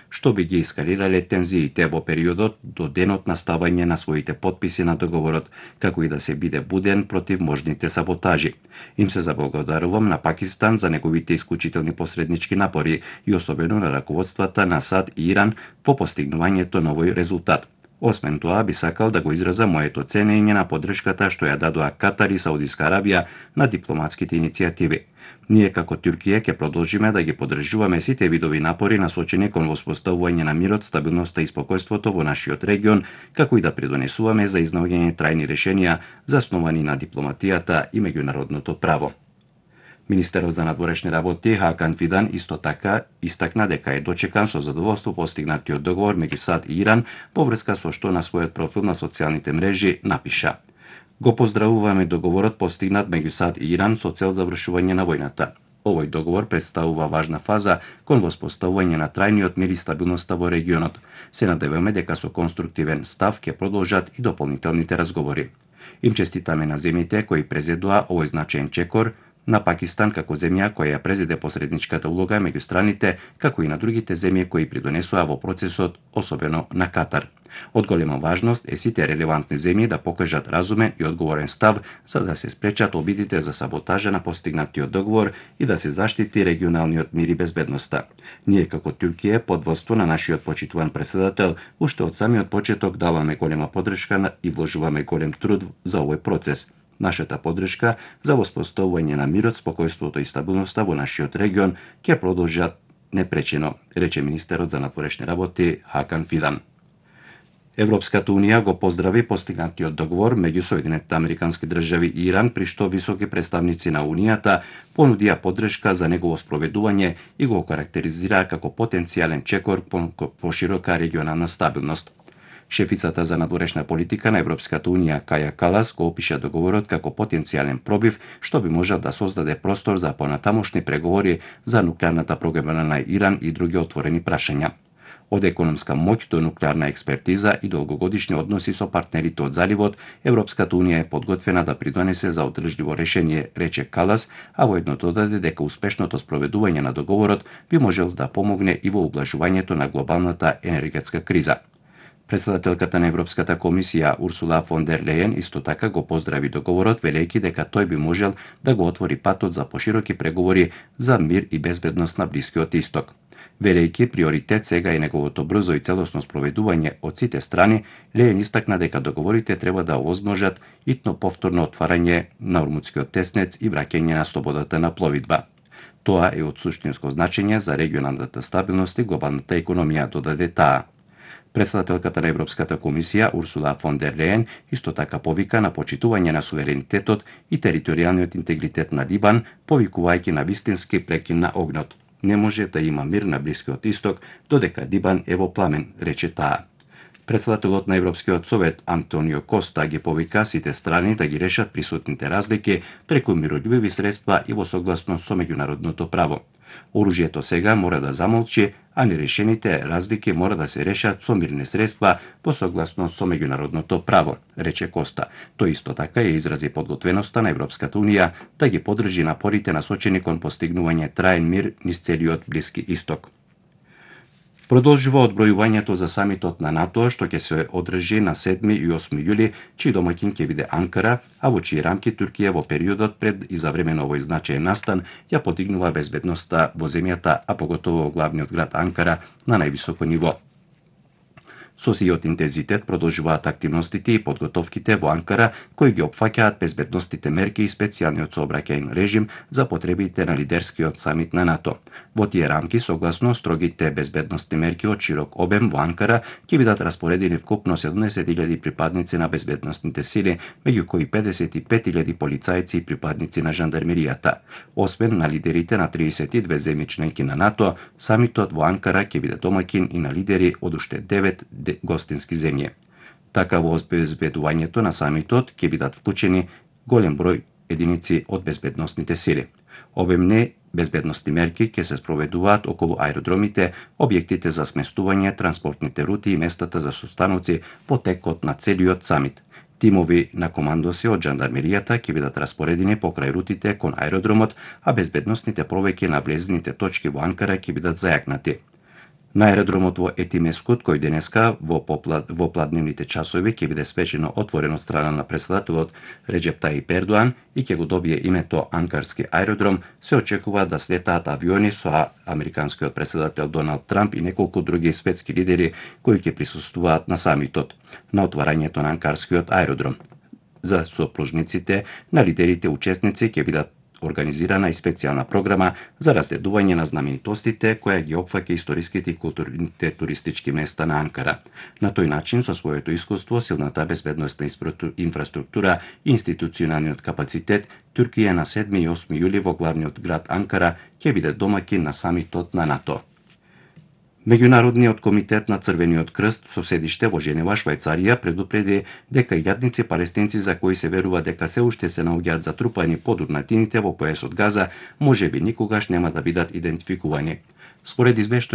што би ги ескалирале тензиите во периодот до денот на ставање на своите потписи на договорот, како и да се биде буден против можните саботажи. Им се заблагодарувам на Пакистан за неговите исклучителни посреднички напори и особено на раководствата на САД и Иран по постигнувањето на овој резултат. Освен тоа, би сакал да го изразам моето ценење на поддршката што ја дадоа Катар и Саудиска Арабија на дипломатските иницијативи. Ние како Туркија ќе продолжиме да ги поддржуваме сите видови напори насочени кон воспоставување на мирот, стабилноста и спокојството во нашиот регион, како и да придонесуваме за изнаоѓање трајни решенија засновани на дипломатијата и меѓународното право. Министерот за надворешни работи Хакан Фидан исто така истакна дека е дочекан со задоволство постигнатиот договор меѓу САД и Иран во врска со што на својот профил на социјалните мрежи напиша: Го поздравуваме договорот постигнат меѓу САД и Иран со цел завршување на војната. Овој договор представува важна фаза кон воспоставување на трајниот мир и стабилноста во регионот. Се надеваме дека со конструктивен став ќе продолжат и дополнителните разговори. Им честитаме на земјите кои презедоа овој значаен чекор, на Пакистан како земја која ја презеде посредничката улога меѓу страните, како и на другите земји кои придонесоа во процесот, особено на Катар. Од голема важност е сите релевантни земји да покажат разумен и одговорен став за да се спречат обидите за саботажа на постигнатиот договор и да се заштити регионалниот мир и безбедноста. Ние како Туркија под водство на нашиот почитуван претседател уште од самиот почеток даваме голема поддршка и вложуваме голем труд за овој процес. Нашата поддршка за воспоставување на мирот, спокојството и стабилноста во нашиот регион ќе продолжат непречено, рече министерот за надворешни работи Хакан Фидан. Европската унија го поздрави постигнатиот договор меѓу Соединетите Американски држави и Иран, при што високи представници на унијата понудија поддршка за негово спроведување и го карактеризира како потенцијален чекор по широка регионална стабилност. Шефицата за надворешна политика на Европската унија Каја Калас го опиша договорот како потенцијален пробив што би можел да создаде простор за понатамошни преговори за нуклеарната програма на Иран и други отворени прашања. Од економска моќ до нуклеарна експертиза и долгогодишни односи со партнерите од заливот, Европската унија е подготвена да придонесе за одржливо решение, рече Калас, а воедно додаде дека успешното спроведување на договорот би можел да помогне и во ублажувањето на глобалната енергетска криза. Претседателката на Европската комисија Урсула фон дер Лејен исто така го поздрави договорот, велејќи дека тој би можел да го отвори патот за пошироки преговори за мир и безбедност на Блискиот Исток. Велејќи приоритет сега е неговото брзо и целосно спроведување од сите страни, Лејен истакна дека договорите треба да овозможат итно повторно отварање на Ормудскиот теснец и враќање на слободата на пловидба. Тоа е од суштинско значење за регионалната стабилност и глобалната економија, додаде таа. Претседателката на Европската комисија Урсула фон дер Лејен исто така повика на почитување на суверенитетот и територијалниот интегритет на Либан, повикувајќи на вистински прекин на огнот. Не може да има мир на Блискиот Исток додека Либан е во пламен, рече таа. Претседателот на Европскиот совет Антонио Коста ги повика сите страни да ги решат присутните разлики преку мирољубиви средства и во согласност со меѓународното право. Оружјето сега мора да замолчи, а нерешените разлики мора да се решат со мирни средства во согласност со меѓународното право, рече Коста. Тој исто така ја изрази подготвеноста на Европската унија да ги поддржи напорите насочени кон постигнување траен мир низ целиот Блиски Исток. Продолжува одбројувањето за самитот на НАТО, што ќе се одржи на 7 и 8 јули, чиј домаќин ќе биде Анкара, а во чии рамки Туркија во периодот пред и за време на овој значаен настан ја подигнува безбедноста во земјата, а поготово во главниот град Анкара на највисоко ниво. Со сиот интензитет продолжуваат активностите и подготовките во Анкара, кои ги опфаќаат безбедностите мерки и специјалниот сообраќајен режим за потребите на лидерскиот самит на НАТО. Во тие рамки, согласно строгите безбедностни мерки од широк обем во Анкара, ќе бидат распоредени вкупно 70.000 припадници на безбедностните сили, меѓу кои 55.000 полицајци и припадници на жандармеријата. Освен на лидерите на 32 земји членки на НАТО, самитот во Анкара ќе биде домаќин и на лидери од уште 9 гостински земји. Така во обезбедувањето на самитот ќе бидат вклучени голем број единици од безбедностните сили. Обемни безбедностни мерки ќе се спроведуваат околу аеродромите, објектите за сместување, транспортните рути и местата за состаноци во текот на целиот самит. Тимови на командоси од жандармеријата ќе бидат распоредени покрај рутите кон аеродромот, а безбедностните проверки на влезните точки во Анкара ќе бидат зајакнати. На аеродромот во Етимескут, кој денеска во попладневните часови ќе биде спечено отворен од страна на председателот Реджеп Таип Ердоан и ќе го добие името Анкарски аеродром, се очекува да слетаат авиони со американскиот председател Доналд Трамп и неколку други светски лидери кои ќе присуствуваат на самитот, на отварањето на Анкарскиот аеродром. За сопружниците на лидерите учесници ќе бидат организирана и специјална програма за разгледување на знаменитостите која ги опфаќа историските и културните туристички места на Анкара. На тој начин, со своето искуство, силната безбедносна инфраструктура и институционалниот капацитет, Туркија на 7 и 8 јули во главниот град Анкара ќе биде домаќин на самитот на НАТО. Меѓународниот комитет на Црвениот крст со седиште во Женева, Швајцарија, предупреди дека илјадници палестинци за кои се верува дека се уште се наоѓаат затрупани под урнатините во појасот Газа, можеби никогаш нема да бидат идентификувани. Според извештај